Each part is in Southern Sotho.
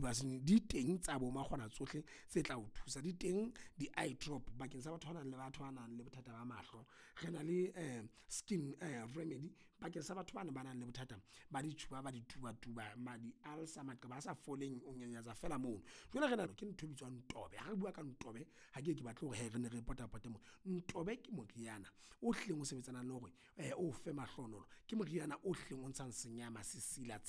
Di di teng tsa bo makgona tsohle tse tla o thusa. Di teng di-eye drop bakeng sa batho ba nang le batho ba nang le bothata ba mahlo. Re na le skin remedy bakeng sa batho bana ba nang le bothata ba ditjhuba, ba ditubatuba, di-ulcer, maqeba a sa foleng, o nyanyatsa feela mono. Jwale re na ke ntho e bitswang tobe. Ha re bua ka ntobe, ha ke ye ke batle hore hee re nne re potapote mona. Ntobe ke moriana o hlileng o sebetsanang le hore o fe mahlohonolo. Ke moriana o hlileng o ntshang senyama, sesila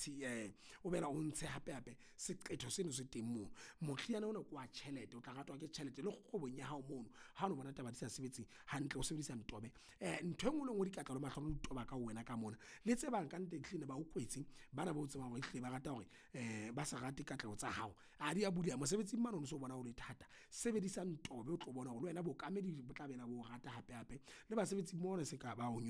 o boela o ntshe hape-hape seqetho seno se teng mono. Moriana ona ke wa tjhelete, o tla ratwa ke tjhelete le kgwebong ya hao mono. Ha ono bona taba di sa sebetse hantle, o sebedisa ntobe. Ntho e nngwe le e nngwe, dikatla le mahlohonolo di toba ka ho wena ka mona. Le tse bang kannete ehlile ne ba o kwetse, bana bao tsebang hore ehlile ba rata hore ba sa rate katleho tsa hao. Ah di a buleha mosebetsing mane o no so bona ho le thata. Sebedisa ntobe o tlo bona hore le wena bookamedi bo tla boela bo o rata hape-hape le basebetsi mmoho le se ka ba o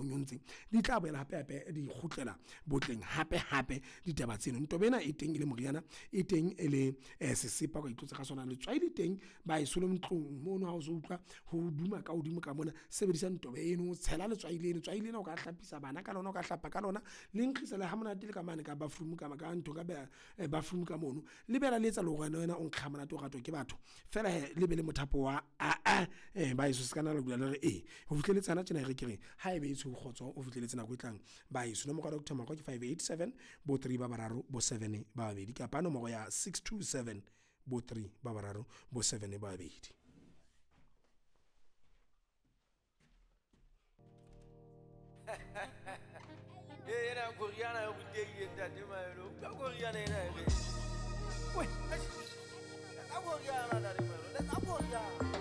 nyontse, di tla boela hape-hape di kgutlela botleng hape-hape ditaba tseno. Ntobe ena e teng e le moriana, e teng e le sesepa o ka itlotsa ka sona. Letswai le teng ba le ntlong mono ha o so utlwa ho duma ka hodimo ka mona. Sebedisa ntobe eno, tshela letswai leno. Letswai lena o ka hlapisa bana ka lona, o ka hlapa ka lona. Le nkgisa le ha monate le ka mane ka bathroom ka ntho ka bathroom ka mono. Le boela le etsa le hore wena o nkge ha monate, o ratwe ke batho. Feela hee le be le mothapo wa baheso se ka nna la dula le re ee. Ho fihlelletse hana tjena e re ke re, ha ebe e tshweu kgotso o fihlelletse nako e tlang baheso. Nomoro ya Doctor Mokgwa ke 587 bo three ba bararo, bo seven ba babedi kapa nomoro ya 627 bo three ba bararo, bo seven ba babedi. Ee, ena koriana e rutehile ntate Maelo. Utlwa koriana ena e re. Weh, eish. Letsa koriana ntate Maelo, letsa koriana.